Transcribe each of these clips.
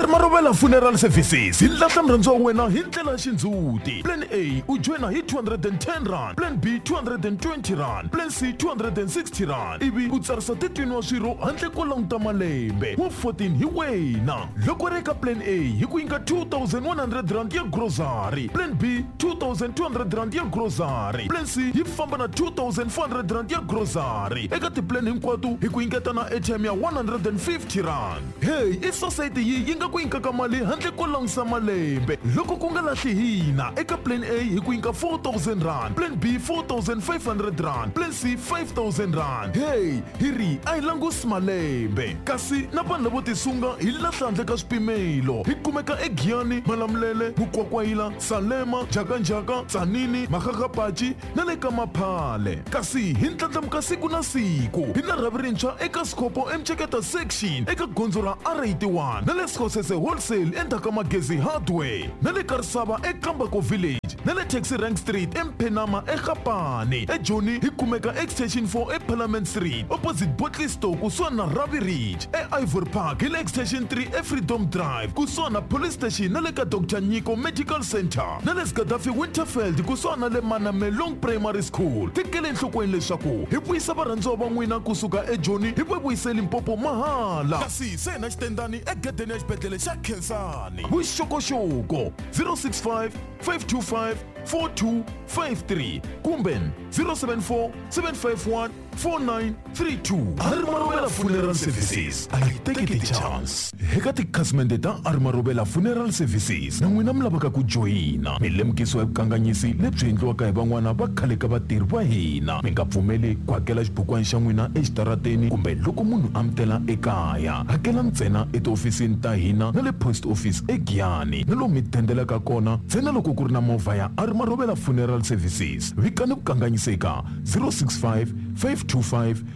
Marobela Funeral Services hi lahla murhandziwa wa wena hi ndlela ya xindzhuti. Plan A u joyina hi 210 rand, Plan B 220 rand, Plan C 260 rand ivi u tsarisa 13 wa swirho handle ko languta malembe. Wa 14 hi wena. Loko ri eka Plan A hi ku nyika 2100 rand ya grocery, Plan B 2200 rand ya grocery, Plan C yi famba na 2400 rand ya grocery. Eka tiplan hinkwato hi ku nyiketa na airtime ya 150 rand. Hey, i society yi yi nga ku nyikaka mali handle ko langusa malembe. Loko ku nga lahli hina eka Plan A hi ku nyika 4000 rand, Plan B 4500 rand, Plan C 5000 rand. Hey, hi ri a hi langusi malembe. Kasi na vanhu lavo tisunga hi lahla handle ka swipimelo. Hi kumeka eGiyani, Malamulele, Mukwakwayila, Salema, Njhakanjhaka, Tzaneen, Makgakgapachi na le ka Maphale. Kasi hi ndlandlamuka siku na siku. Hi na rhavi rintshwa eka Sekgopo eMceketa Section eka gondzo ra R81 na le Sekgosese Wholesale endzhaku ka Magezi Hardware na le ka Risava eKambako Village na le Taxi Rank Street eMphenama eGapane. EJoni hi kumeka Extension 4 eParliament Street opposite Bottle Store kusuhani na Ravi Ridge. EIvory Park hi le Extension 3 eFreedom Drive kusuhani na Police Station na le ka Dr Nyiko Medical Center na le Gaddafi Winterveld kusuhani na le Manamelong Primary School. Tekela enhlokweni leswaku hi vuyisa varhandziwa va n'wina kusuka eJoni hi va vuyise Limpopo mahala. Kasi se hi na xitendani egedeni ya xibedhlele xa Khensani. Vuxokoxoko 065 525 4253 kumbe 074 751 4932. Arimarobela Funeral Services a yi teki ti-chance. Eka tikhasimende ta Arimarobela Funeral Services na n'wina mi lavaka ku joyina, mi lemukisiwa hi vukanganyisi lebyi endliwaka hi van'wana va khale ka vatirhi va hina. Mi nga pfumeli ku hakela xibukwana xa n'wina exitarateni kumbe loko munhu a mi tela ekaya. Hakela ntsena etihofisini ta hina na le post office eGiyani na lomu mi dendelaka kona ntsena loko ku ri na movha ya Arimarobela Funeral Services. Vikani vukanganyisi eka 065 525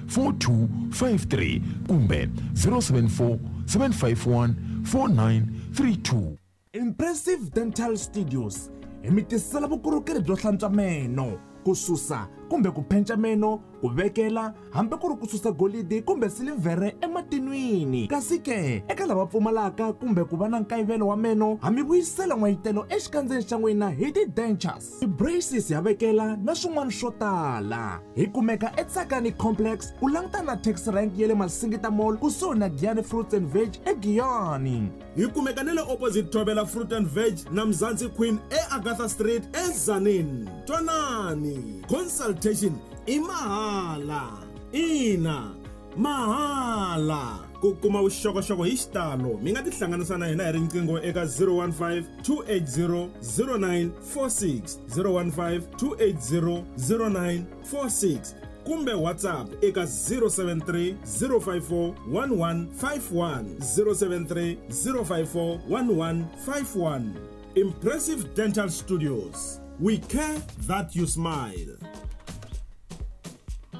4253 kumbe 074 751 4932. Impressive Dental Studios hi mi tisela vukorhokeri byo hlantswa meno, ku susa kumbe ku phenca meno, ku vekela hambi ku ri ku susa golidi kumbe silivhere ematinwini. Kasi ke eka lava pfumalaka kumbe ku va na nkayivelo wa meno, ha mi vuyisela n'wayitelo exikandzeni xa n'wina hi ti-dentures, ti-braces ya vekela na swin'wana swo tala. Hi kumeka eTsakani Complex ku langutana na taxi rank ya le Masingita Mall kusuhi na Giyani Fruits and Veg eGiyani. Hi kumeka na le opposite Thobela Fruit and Veg na Mzansi Queen eAgatha Street eTzaneen. Twanani, consultation i mahala. Ina, mahala. Ku kuma vuxokoxoko hi xitalo mi nga tihlanganisa na hina hi riqingho eka 015 280 0946, 015 280 0946 kumbe WhatsApp eka 073 054 1151, 073 054 1151. Impressive Dental Studios, we care that you smile.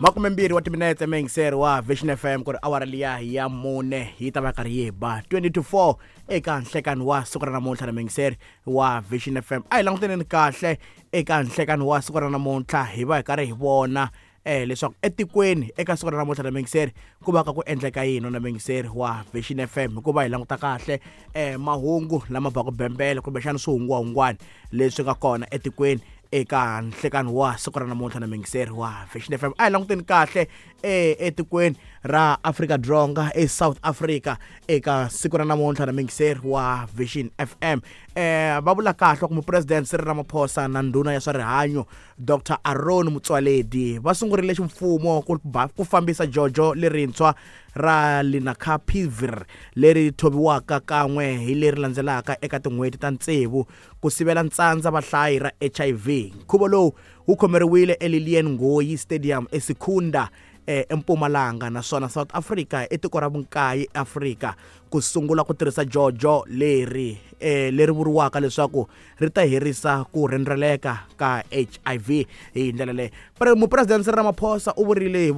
20 wa timinetse meyingiseri wa Vision FM ku ri awara liya ya 4 yi ta va karhi yi ba 20 to 4 eka nhlekani wa siku ra namuntlha na meyingiseri wa Vision FM. A hi languteneni kahle eka nhlekani wa siku ra namuntlha, hi va hi karhi hi vona leswaku etikweni eka siku ra namuntlha na meyingiseri ku va ka ku endleka yini na meyingiseri wa Vision FM, hikuva hi languta kahle mahungu lama baka bembele kumbexana swihungwahungwani leswi nga kona etikweni eka nhlekani wa siku ra namuntlha na meyingiseri wa Vision FM. A hi languteni kahle etikweni ra Afrika Dzonga eSouth Africa eka siku ra namuntlha na meyingiseri wa Vision FM. Va vula kahle ku mupresidente Cyril Ramaphosa na ndhuna ya swa rihanyo Dr Aaron Motsoaledi va sungurile ximfumo ku fambisa jojo lerintshwa ra Lenacapavir leri thobiwaka kan'we hi leri landzelaka eka tin'hweti ta 6 ku sivela ntsandza vahlayi ra HIV. Nkhuvo lowu wu khomeriwile eLilian Ngoyi Stadium eSecunda eMpumalanga, naswona South Africa i tiko ra vunkaye eAfrika ku sungula ku tirhisa jojo leri leri vuriwaka leswaku ri ta herisa ku rhendzeleka ka HIV hi ndlela leyi. Mupresidente Cyril Ramaphosa u vurile hi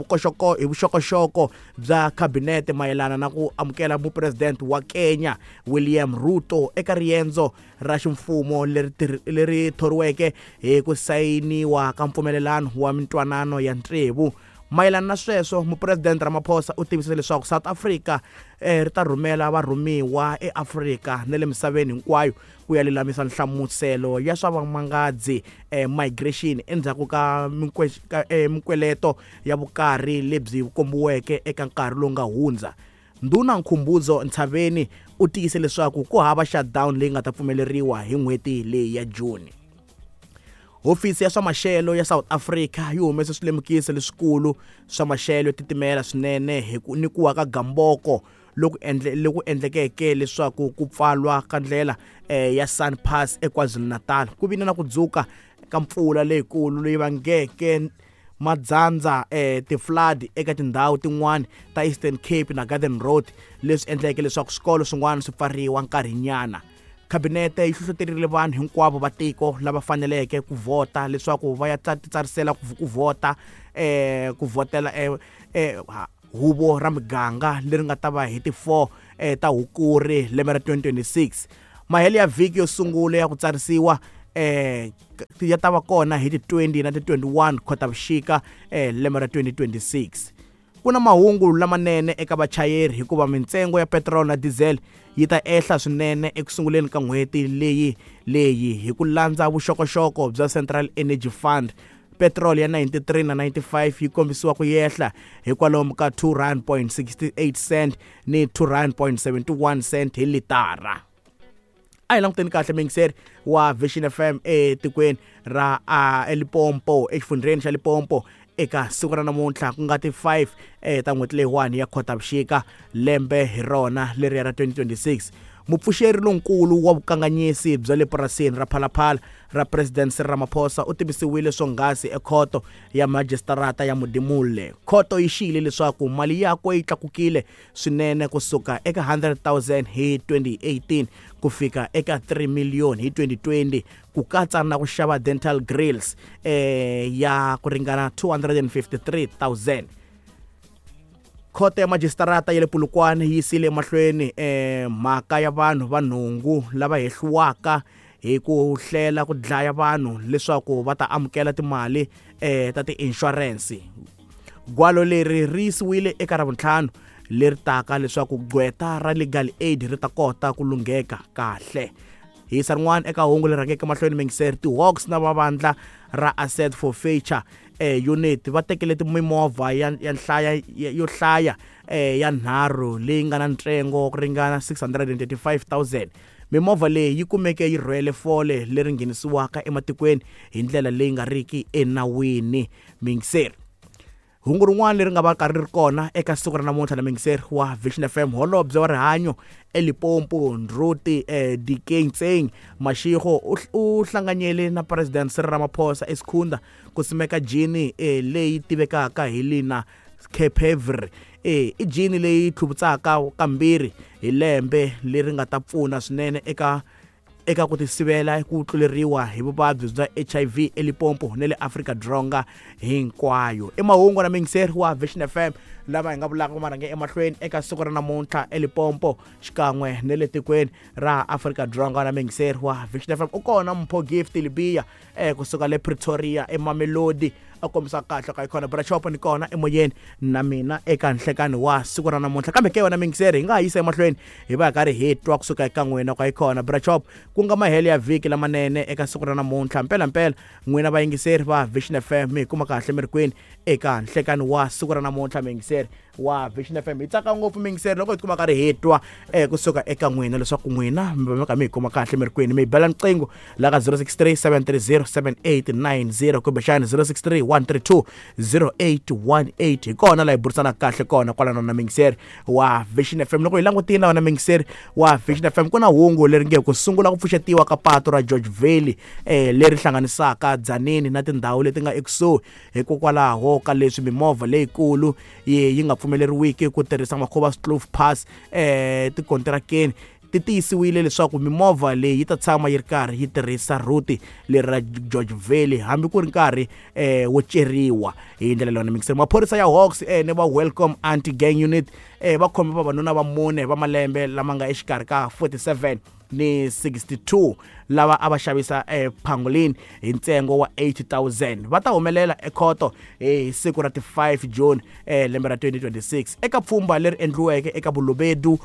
vuxokoxoko bya khabinete mayelana na ku amukela mupresidente wa Kenya William Ruto eka riendzo ra ximfumo leri thoriweke hi ku sayiniwa ka mpfumelelano wa mintwanano ya tsevu. Mayelana na sweswo, Mupresidente Ramaphosa u tivise leswaku South Africa ri ta rhumela varhumiwa eAfrika na le misaveni hinkwayo ku ya lulamisa nhlamuselo ya swa vamangadzi migration endzhaku ka minkweleto ya vukarhi lebyi kombiweke eka nkarhi lowu nga hundza. Ndhuna Nkhumbuzo Ntshavheni u tiyise leswaku ku hava shutdown leyi nga ta pfumeleriwa hi n'hweti leyi ya June. Hofisi ya swa maxelo ya South Africa yi humese swilemukiso leswikulu swa maxelo yo titimela swinene hi ku ni ku wa ka gamboko loku endle loku endlekeke leswaku ku pfalwa ka ndlela ya Sun Pass eKwaZulu-Natal. Ku vile na ku dzuka ka mpfula leyikulu leyi vangeke madzandza ti-flood eka tindhawu tin'wana ta Eastern Cape na Garden Road, leswi endleke leswaku swikolo swin'wana swi pfariwa nkarhinyana. Khabinete yi hlohloterile vanhu hinkwavo va tiko lava faneleke ku vhota leswaku va ya titsarisela ku vhota ku vhotela huvo ra miganga leri nga ta va hi ti 4 ta Hukuri lembe ra 2026. Mahelo ya vhiki yo sungula ya ku tsarisiwa ya ta va kona hi ti 20 na ti 21 Khotavuxika lembe ra 2026. Ku na mahungu lamanene eka vachayeri hikuva mintsengo ya petiroli na diesel yi ta ehla swinene eku sunguleni ka n'hweti leyi leyi hi ku landza vuxokoxoko bya Central Energy Fund. Petiroli ya 93 na 95 yi kombisiwa ku yehla hi kwalomu ka R2.68 cent ni R2.71 cent hi litara. A hi languteni kahle muyingiseri wa Vision FM etikweni ra eLimpopo, exifundzheni xa Limpopo eka siku ra namuntlha ku nga ti 5 ta n'hweti leyiwani ya Khotavuxika lembe hi rona leriya ra 2026. Mupfuxeri lonkulu wa vukanganyisi bya le purasini ra Phalaphala ra President Cyril Ramaphosa u tivisiwile swonghasi ekhoto ya majisitarata ya Modimolle. Khoto yi xiyile leswaku mali yakwe yi tlakukile swinene kusuka eka 100,000 hi 2018 ku fika eka 3 million hi 2020, ku katsa na ku xava dental grills ya ku ringana 253,000. Khoto ya majisitarata ya le Polokwane yi yisile emahlweni mhaka ya vanhu va nhungu lava hehliwaka hi ku hlela ku dlaya vanhu leswaku va ta amukela timali ta ti-insurance. Gwalo leri ri yisiwile eka Ravuntlhanu leri taka leswaku gqweta ra Legal Aid ri ta kota ku lungheka kahle. Hi yisa rin'wana eka hungu leri rhangeke mahlweni muyingiseri, ti-Hawks na vavandla ra Asset Forfeiture Unit va tekele mimovha ya nhlaya yo hlaya ya nharhu leyi nga na ntsengo ku ringana 635,000. Mimovha leyi yi kumeke yi rhwele fole leri nghenisiwaka ematikweni hi ndlela leyi nga riki enawini. Muyingiseri, hungu rin'wana leri nga va karhi ri kona eka siku ra namuntlha na muyingiseri wa Vision FM, holobye wa rihanyo eLimpopo Ndruti Diketseng Mashego u hlanganyele na President Cyril Ramaphosa eSikhundla ku simeka jini leyi tivekaka hi Lina Kepevri. I jini leyi tlhuvutsaka kambirhi hi lembe leri nga ta pfuna swinene eka ku tisivela ku tluleriwa hi vuvabyi bya HIV eLimpopo na le Afrika-Dzonga hinkwayo. I mahungu na muyingiseri wa Vision FM lava hi nga vulaka ma rhange emahlweni eka siku ra namuntlha eLimpopo xikan'we na le tikweni ra Afrika-Dzonga. Na muyingiseri wa Vision FM u kona Mpho Gift Libya kusuka le Pretoria eMamelodi, a kombisa kahle ka ikona Brashop ni kona emoyeni na mina eka nhlekani wa siku ra namuntlha. Kambe ke wena muyingiseri hi nga ha yisa emahlweni hi va hi karhi hi twa kusuka eka n'wina ka ikona Brashop, ku nga mahelo ya vhiki lamanene eka siku ra namuntlha. Mpelampela n'wina vayingiseri va Vision FM mi hi kuma kahle mi ri kwini eka nhlekani wa siku ra namuntlha. Muyingiseri wa Vision FM hi tsaka ngopfu muyingiseri loko hi tikuma karhi hi twa kusuka eka n'wina leswaku n'wina mi va mi kha mi hi kuma kahle mi ri kwini. Mi hi bela niqingho la ka 063 730 7890 kumbexani 063 132 0818. Hi kona laha hi burisanaka kahle kona kwalano na muyingiseri wa Vision FM. Loko hi langutile wena muyingiseri wa Vision FM, ku na hungu leri nge ku sungula ku pfuxetiwa ka patu ra George Valley leri hlanganisaka Dzaneni na tindhawu leti nga ekusuhi hikokwalaho ka leswi mimovha leyikulu yi nga pfumeleriwiki ku tirhisa Makhuva-Kloof Pass tikontirakeni. Ti tiyisiwile leswaku mimovha leyi yi ta tshama yi ri karhi yi tirhisa rhuti leri ra George Valley hambi ku ri nkarhi wo ceriwa hi ndlela leyi. Mixer maphorisa ya Hawks ni va Welcome Anti Gang Unit va khome vavanuna va mune va malembe lama nga exikarhi ka 47 ni 62 lava a va xavisa pangolin hi ntsengo wa 80,000 va ta humelela ekhoto hi siku ra ti 5 June lembe ra 2026 eka pfhumba leri endliweke eka Bolobedu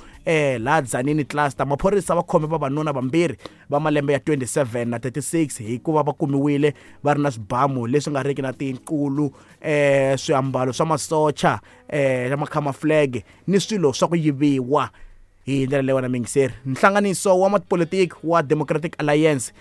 laha Tzaneen cluster. Maphorisa va khome vavanuna vambirhi va malembe ya 27 na 36 hikuva va kumiwile va ri na swibamu leswi nga riki na tinqulu, swiambalo swa masocha, macamouflage ni swilo swa ku yiviwa. Hi ndlela leyi wena mingiseri, nhlanganiso wa matipolitiki wa Democratic Alliance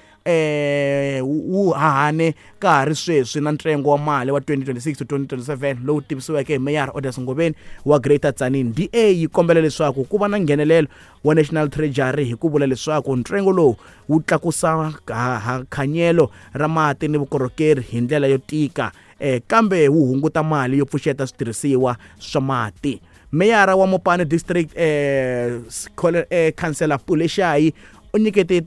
wu hahane ka ha ri sweswi na ntsengo wa mali wa 2026 to 2027 lowu tivisiweke hi Meyara Odas Ngobeni wa Greater Tzaneen. DA yi kombela leswaku ku va na nghenelelo wa National Treasury hi ku vula leswaku ntsengo lowu wu tlakusa khanyelo ra mati ni vukorhokeri hi ndlela yo tika, kambe wu hunguta mali yo pfuxeta switirhisiwa swa mati. Meyara wa Mopani District Councillor Pule Shayi u nyikete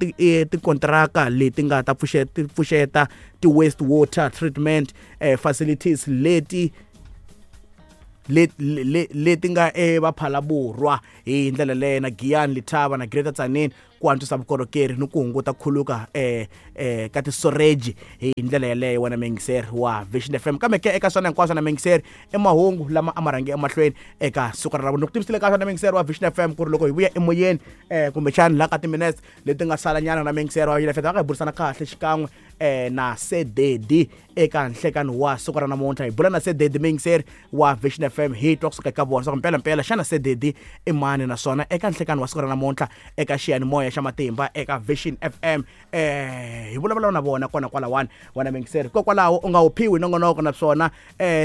tikontraka leti nga ta pfuxeta ti-waste water treatment facilities leti leti nga eVaphalaborwa hi ndlela leyo na Giyani, Letaba na Greater Tzaneen ku antswisa vukorhokeri ni ku hunguta khuluka ka tisoreji hi ndlela yeleyo wena mingiseri wa Vision FM. Kambe ke eka swona hinkwaswo na mingiseri i mahungu lama a ma rhange emahlweni eka siku ra loko tivisile ka swona mingiseri wa Vision FM ku ri loko hi vuya emoyeni kumbexani laha ka timinetse leti nga salanyana na mingiseri wa Vision FM va ka hi burisana kahle xikan'we na Sededi eka nhlekani wa siku ra namuntlha. Hi bula na Sededi mingiseri wa Vision FM hi twa kusuka eka vona swa ku mpelampela xana Sededi i mani, naswona eka nhlekani wa siku ra namuntlha eka xiyanimoya xa matimba eka Vision FM hi vulavula na vona kona kwalawani wena mingiseri. Hikokwalaho u nga wu phiwi nongonoko naswona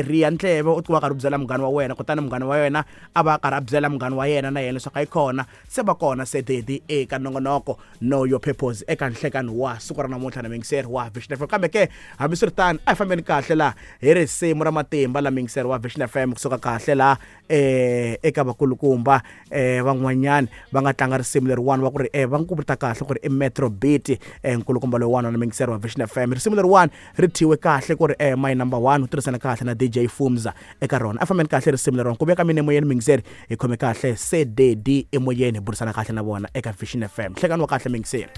riya ndleve u tikuma karhi u byela munghana wa wena, kutani munghana wa wena a va karhi a byela munghana wa yena na yena leswaku yi kona se va kona Sededi eka nongonoko Know Your Purpose eka nhlekani wa siku ra namuntlha na mingiseri wa Vision FM. Kambe ke hambiswiritano a hi fambeni kahle laha hi risimu ra matimba la mingiseri wa Vision FM kusuka kahle laha eka vakulukumba van'wanyana va nga tlanga risimu leriwani va ku ri va n'wi vita kahle ku ri i Metro Beat, nkulukumba loyiwani na mingiseri wa Vision FM. Risimu leriwani ri thyiwe kahle ku ri my number 1 u tirhisana kahle na DJ Fumza eka rona. A fambeni kahle risimu leriwani ku veka mina emoyeni mingiseri hi khome kahle Sededi emoyeni hi burisana kahle na vona eka Vision FM. Nhlekani wa kahle mingiseri.